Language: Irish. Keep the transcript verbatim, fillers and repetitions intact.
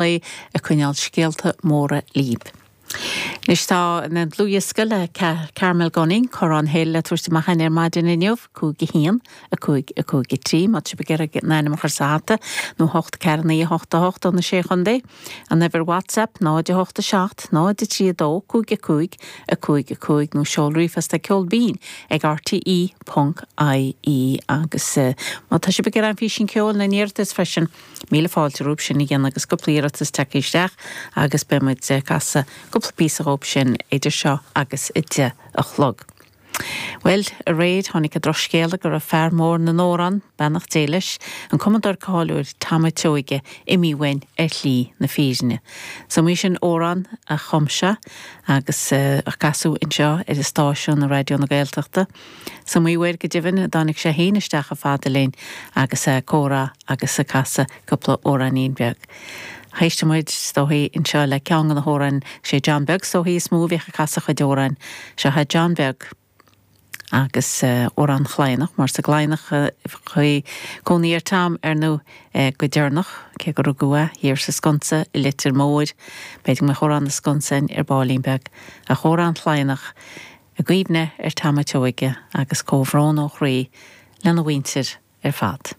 Lae ag coinneáil scéalta móra libh. Anois tá an dlúthdhiosca le Carmel Gunning, Corrán Hill le tabhairt amach againn ar maidin inniu, cúig a haon, a cúig, a cúig a trí, má tá sibh ag iarraidh an ainm a chur sa hata, nó hocht ceathair naoi a hocht a hocht ó na Sé Chontae. An uimhir WhatsApp, náid a hocht a seacht, náid a trí a dó, cúig a cúig, a cúig a cúig, nó seol ríomhphost ag ceol binn ag rte ponc ie agus má tá sibh ag iarraidh an físean ceoil na n-iarratas freisin, míle fáilte romhaibh sin a dhéanamh agus cúpla iarratas tagtha isteach agus beidh muid ag casadh cúpla píosa dhóibh sin idir seo agus a deich a chlog. Bhuel, aréir tháinig an drochscéala go raibh fear mór na n-amhrán, beannacht Dé leis, an cumadóir cáiliúil Tom a' tSeoighe, imithe uainn ar shlí na fírinne. Is iomaí sin amhrán a chum sé agus a casadh anseo ar an stáisiún i Raidió na Gaeltachta. Is iomaí uair go deimhin a dtáinig sé féin isteach chomh fada linn agus é ag comhrá agus ag casadh cúpla amhráinín beag. Éistfidh muid is dóichí anseo le ceann de na hamhráin, sé John Beag is dóichí is mó a bhíodh ag casadh a chuid amhráin. Seo é John Beag agus amhrán Chladhnach, mar sa gCladhnach a bhí cónaí ar Tom ar ndóigh go deireanach, cé gur rugadh é thiar sa Sconsa i Leitir Móir. B'fhéidir go mbeadh amhrán na Sconsa againn ar baillín beag, ach amhrán Chladhnach i gcuimhne ar Tom a' tSeoighe agus comhbhrón ó chroí lena mhuintir ar fad.